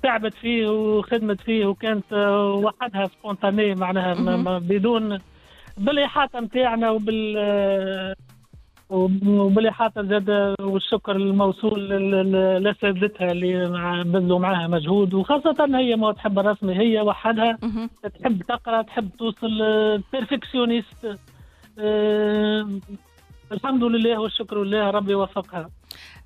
تعبت فيه وخدمت فيه، وكانت وحدها spontanée معناها بدون بالاحاطه نتاعنا وبالاحاطه زاد، والشكر الموصول لاساتذتها اللي بذلوا معها مجهود، وخاصة هي ما تحب الرسمي، هي وحدها تحب تقرا، تحب توصل perfectionniste. الحمد لله والشكر لله، ربي وفقها.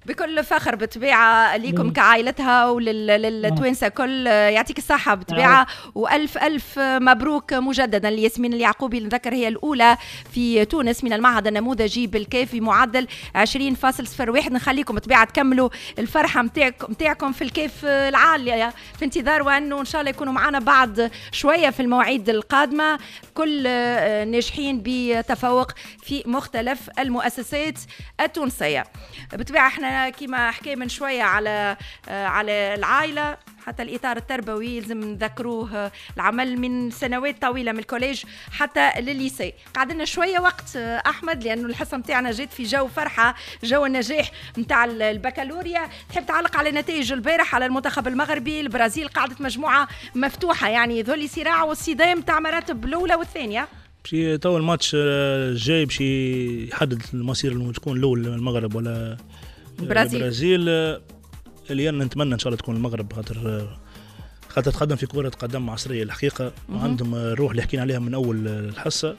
بكل فخر بالطبيعة ليكم كعائلتها وللتوانسة كل، يعطيك الصحة بالطبيعة، وألف ألف مبروك مجددا لياسمين اليعقوبي، نذكر هي الأولى في تونس من المعهد النموذجي بالكاف بمعدل 20.01. نخليكم بالطبيعة تكملوا الفرحة متاعكم في الكاف العالية، في انتظار وأنه إن شاء الله يكونوا معنا بعد شوية في المواعيد القادمة كل ناجحين بتفوق في مختلف المؤسسات التونسية. بالطبيعة احنا كما حكي من شوية على العائلة، حتى الإطار التربوي يلزم نذكروه، العمل من سنوات طويلة من ال collège حتى للل lycée. قعدنا شوية وقت أحمد، لأنه الحصة متاعنا جات في جو فرحة، جو النجاح متاع البكالوريا. تحب تعلق على نتائج البارح، على المنتخب المغربي البرازيل؟ قعدت مجموعة مفتوحة، يعني ذولي صراع والصدام تاع مراتب الأولى والثانية. باش تو الماتش الجاي باش يحدد المصير انه تكون الاول المغرب ولا البرازيل. البرازيل اللي انا نتمنى ان شاء الله تكون المغرب، خاطر تقدم في كرة قدم عصرية الحقيقة، وعندهم الروح اللي حكينا عليها من اول الحصة.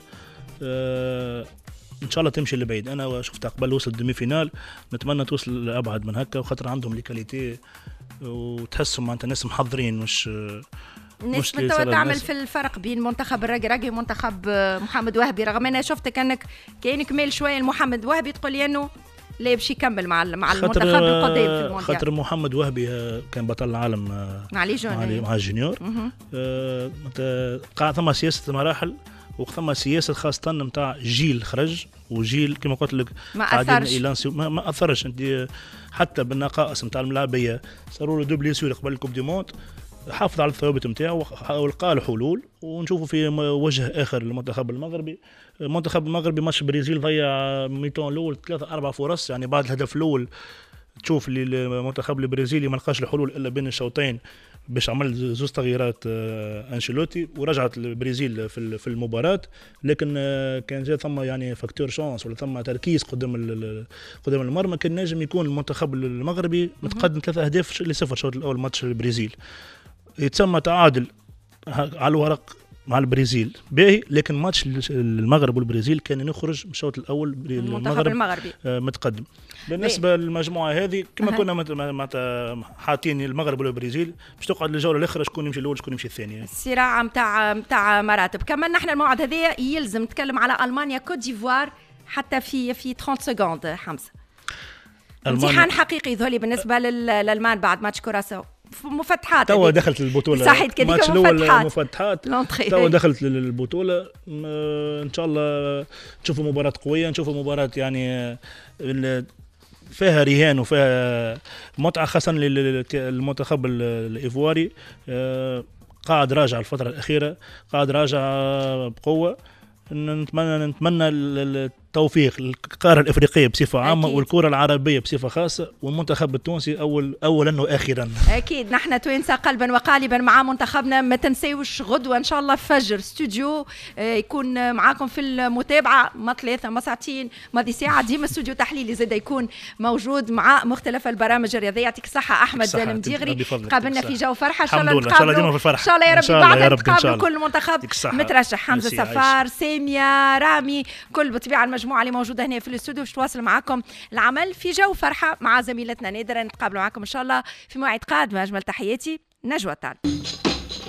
ان شاء الله تمشي لبعيد. انا شفتها قبل وصل demi-finale، نتمنى توصل لابعد من هكا، وخاطر عندهم les qualités وتحسهم معناتها ناس محضرين، مش الناس متى تعمل في الفرق بين منتخب الركراكي ومنتخب محمد وهبي، رغم انا شفتك انك كاينك ميل شوية لمحمد وهبي، تقول لي انه لا باش يكمل مع المنتخب القديم في المونديال. خاطر محمد وهبي كان بطل العالم مع les jeunes، مع ال juniors. قاع ثم سياسة مراحل، وثم سياسة خاصة نتاع جيل خرج وجيل كما قلت لك ما اثرش، ما اثرش. انت حتى بالنقائص نتاع الملاعبيه صاروا له deux blessures قبل ال coupe du monde، حافظ على الثوابت نتاعو ولقى له حلول. ونشوفوا في وجه اخر المنتخب المغربي. المنتخب المغربي ماتش البرازيل ضيع mi-temps الاول 3-4 فرص، يعني بعد الهدف الاول تشوف اللي المنتخب البرازيلي ما لقاش الحلول الا بين الشوطين باش عمل زوج تغييرات انشيلوتي، ورجعت البرازيل في المباراة. لكن كان جاء ثم يعني facteur chance ولا ثم تركيز قدام المرمى، كان نجم يكون المنتخب المغربي متقدم 3-0 الشوط الاول ماتش البرازيل. يتسمى تعادل على الورق مع البرازيل باهي، لكن ماتش المغرب والبرازيل كان يخرج من الشوط الاول المنتخب المغربي متقدم. بالنسبة للمجموعة هذه كما كنا حاطين المغرب والبرازيل باش تقعد للجوله الاخرى شكون يمشي الاول شكون يمشي الثاني، الصراع نتاع مراتب. كمان نحن الموعد هذا يلزم نتكلم على المانيا كوت ديفوار حتى في 30 secondes. حمزة، امتحان حقيقي ذولي بالنسبة للالمان بعد ماتش كوراسو، مفتحات توا دخلت البطولة، صحيح كذلك مفتحات توا دخلت للبطولة. ان شاء الله نشوفوا مباراة قوية، نشوفوا مباراة يعني فيها رهان وفيها متعه، خاصة للمنتخب الايفواري قاعد راجع الفترة الاخيرة، قاعد راجع بقوة. نتمنى التوفيق للقارة الافريقية بصفة عامة. أكيد. والكره العربية بصفة خاصة، والمنتخب التونسي اولا واخيرا. اكيد نحن توانسة قلبا وقالبا مع منتخبنا. ما تنساوش غدوه ان شاء الله فجر استوديو يكون معاكم في المتابعة، ما 3 ما ساعتين ماضي ساعة، ديما استوديو تحليلي زاد يكون موجود مع مختلف البرامج الرياضية. يعطيك الصحة احمد المديغري، تقابلنا في جو فرحه ان شاء الله، نتقابلوا ان شاء الله يا ربي بعد نتقابلوا كل منتخب مترشح، حمزة سفار، سامية، رامي، كل بالطبيعة المجموعة اللي موجودة هنا في الاستوديو باش تواصل معكم العمل في جو فرحه مع زميلتنا نادرة. نتقابلوا معكم ان شاء الله في موعد قادم. اجمل تحياتي، نجوى الطالب.